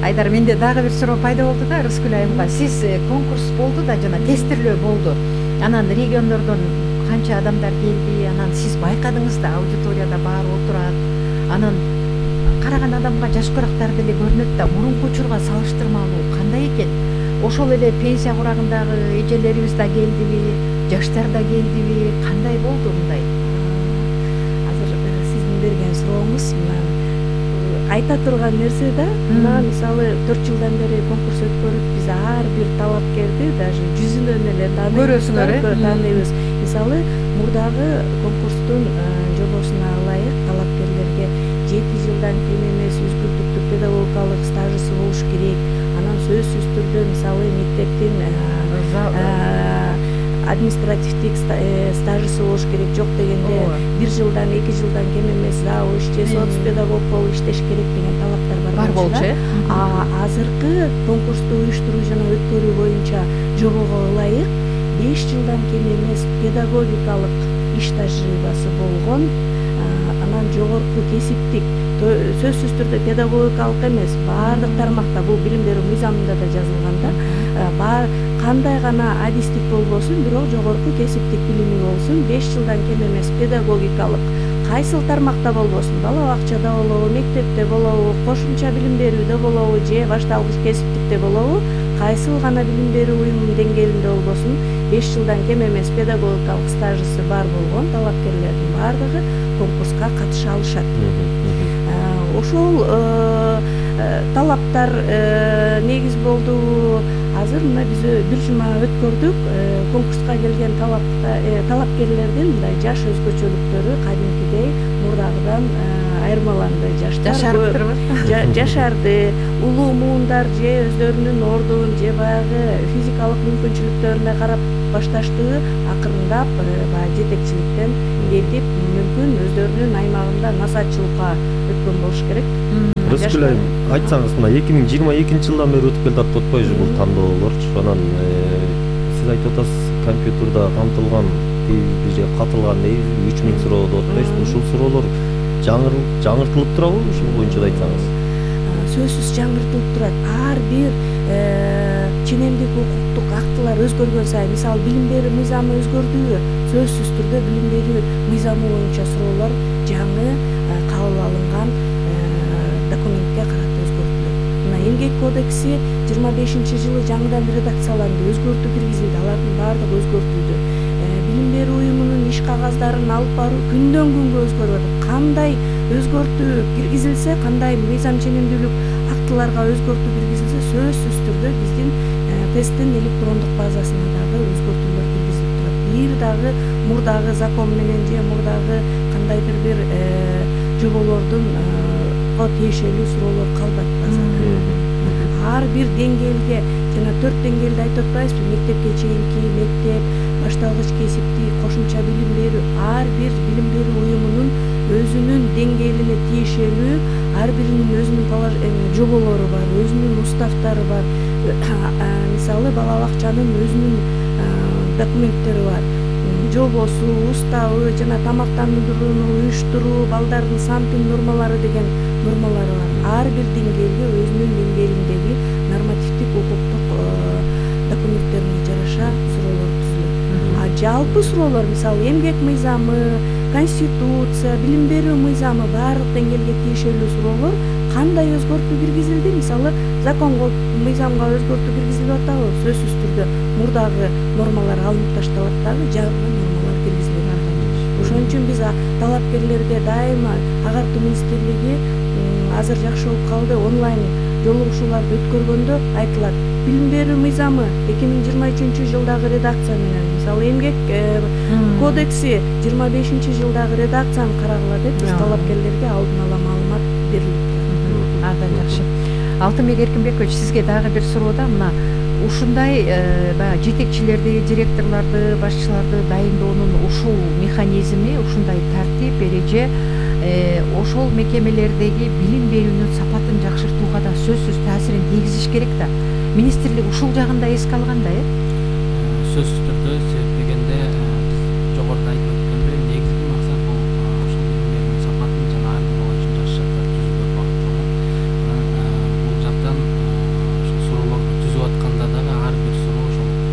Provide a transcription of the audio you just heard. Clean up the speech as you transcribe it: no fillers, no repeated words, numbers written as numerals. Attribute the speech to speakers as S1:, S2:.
S1: Айдар, менде дагы бир суроо пайда болду да Рыскүл айымга. Сиз конкурс болду да жана тестирлөө болду. Анан региондордон канча адамдар келди, анан сиз байкадыңыз да аудиторияда баары отурат. Анан караган адамга жашкырактар деле көрүнөт да, мурунку учурга салыштырмалуу кандай экен? Ошол эле пенсия курагындагы эжелерибиз да келдиби, жаштар да келдиби, кандай болду мындай?
S2: Азыр сиздин берген сурооңуз айта турган нерсе да, мына мисалы 4 жылдан бери конкурс өткөрүп, биз ар бир талапкерди даже жүзүнөн эле
S1: көрөсүңөр,
S2: тааныйбыз. Мисалы мурдагы конкурстун жобосуна ылайык талапкерлерге 7 жылдан кем эмес өзгөртүктүү педагогикалык стажысы болуш керек. Анан сөзсүз түрдө мисалы мектептин административдик стажысы болуш керек, жок дегенде 1 жылдан 2 жылдан кем эмес завуч же соц педагог болуп иштеш керек деген талаптар бар болчу. Азыркы конкурсту уюштуруу жана өткөрүү боюнча жобого ылайык 5 жылдан кем эмес педагогикалык иш тажрыйбасы болгон, анан жогорку кесиптик, сөзсүз түрдө педагогикалык эмес, баардык тармакта, бул билим берүү мыйзамында да жазылган да, кандай гана адистик болбосун, бирок жогорку кесиптик билими болсун, 5 жылдан кем эмес педагогикалык кайсыл тармакта болбосун, бала бакчада болобу, мектепте болобу, кошумча билим берүүдө болобу же башталгыч кесиптикте болобу, кайсыл гана билим берүү уюмунун деңгээлинде болбосун, 5 жылдан кем эмес педагогикалык стажысы бар болгон талапкерлердин баардыгы конкурска катыша алышат. Ошол талаптар негиз болду. Азыр мына биз 1 жума өткөрдүк. Конкурска келген талапкерлердин мындай жаш өзгөчөлүктөрү кадимкидей мурдагыдан айырмаланды. Жаштар жашарды, улуу муундар же өздөрүнүн ордун же баягы физикалык мүмкүнчүлүктөрүнө карап башташты, акырындап баягы жетекчиликтен кетип, мүмкүн өздөрүнүн аймагында насаатчылыкка өткөн болуш керек.
S3: Рыскүл айым, айтсаңыз, мына 2022 жылдан бери өтүп келатат отпойбу бул тандоолорчу. Анан сиз айтып атасыз, компьютерда камтылган бир катылган 3000 суроо деп атпайсызбы? Ушул суроолор жаңыртылып турабы? Ушул боюнча да айтсаңыз.
S2: Сөзсүз жаңыртылып турат. Ар бир ченемдик укуктук актылар өзгөргөн сайын, мисалы билим берүү мыйзамы өзгөрдүбү, сөзсүз түрдө билим берүү мыйзамы боюнча суроолор жаңы кабыл алынган документке карата өзгөртүлөт. Мына эмгек кодекси 25-жылы жаңыдан редакцияланды, өзгөртүү киргизилди, алардын баардыгы өзгөртүлдү. Билим берүү уюмунун иш кагаздарын алып баруу күндөн күнгө өзгөрүп атат. Кандай өзгөртүү киргизилсе, кандай мыйзам ченемдүүлүк актыларга өзгөртүү киргизилсе, сөзсүз түрдө биздин тесттин электрондук базасына дагы өзгөртүүлөр киргизилип турат. Бир дагы мурдагы закон менен же мурдагы кандайдыр бир жоболордун тиешелүү суроолор калбайт базада. Ар бир деңгээлге, жана 4 деңгээлди айтып атпайбызбы? Мектепке чейинки мектеп, башталгыч кесиптик, кошумча билим берүү, ар бир билим берүү уюмунун өзүнүн деңгээлине тиешелүү, ар биринин өзүнүн жоболору бар, өзүнүн уставтары бар. Мисалы бала бакчанын өзүнүн документтери бар. Жобосу, уставы жана тамактандырууну уюштуруу, балдардын санпин нормалары деген нормалары бар. Ар бир деңгээлге өзүнүн деңгээлиндеги нормативдик укуктук документтерине жараша суроолор түзүлөт. Жалпы суроолор, мисалы эмгек мыйзамы, конституция, билим берүү мыйзамы, баардык деңгээлге тиешелүү суроолор кандай өзгөртүү киргизилди? Мисалы законго, мыйзамга өзгөртүү киргизилип атабы? Сөзсүз түрдө мурдагы нормалар алынып ташталат дагы, жаңы нормалар киргизилип атат. Ошон үчүн биз талапкерлерге дайыма агартуу министрлиги азыр жакшы болуп калды, онлайн жолугушууларды өткөргөндө айтылат. Билим берүү мыйзамы 2023-жылдагы редакция менен, мисалы эмгек кодекси 25-жылдагы редакцияны карагыла деп биз талапкерлерге алдын ала маалымат берилип турат.
S1: Абдан жакшы. Алтынбек Эркинбекович, сизге дагы бир суроо да, мына ушундай баягы жетекчилерди, директорлорду, башчыларды дайындоонун ушул механизми, ушундай тартип, эреже ошол мекемелердеги билим берүүнүн сапатын жакшыртууга да сөзсүз таасирин тийгизиш керек да. Министрлик ушул жагын да эске алган да,
S4: сөзсүз түрдө, себеп дегенде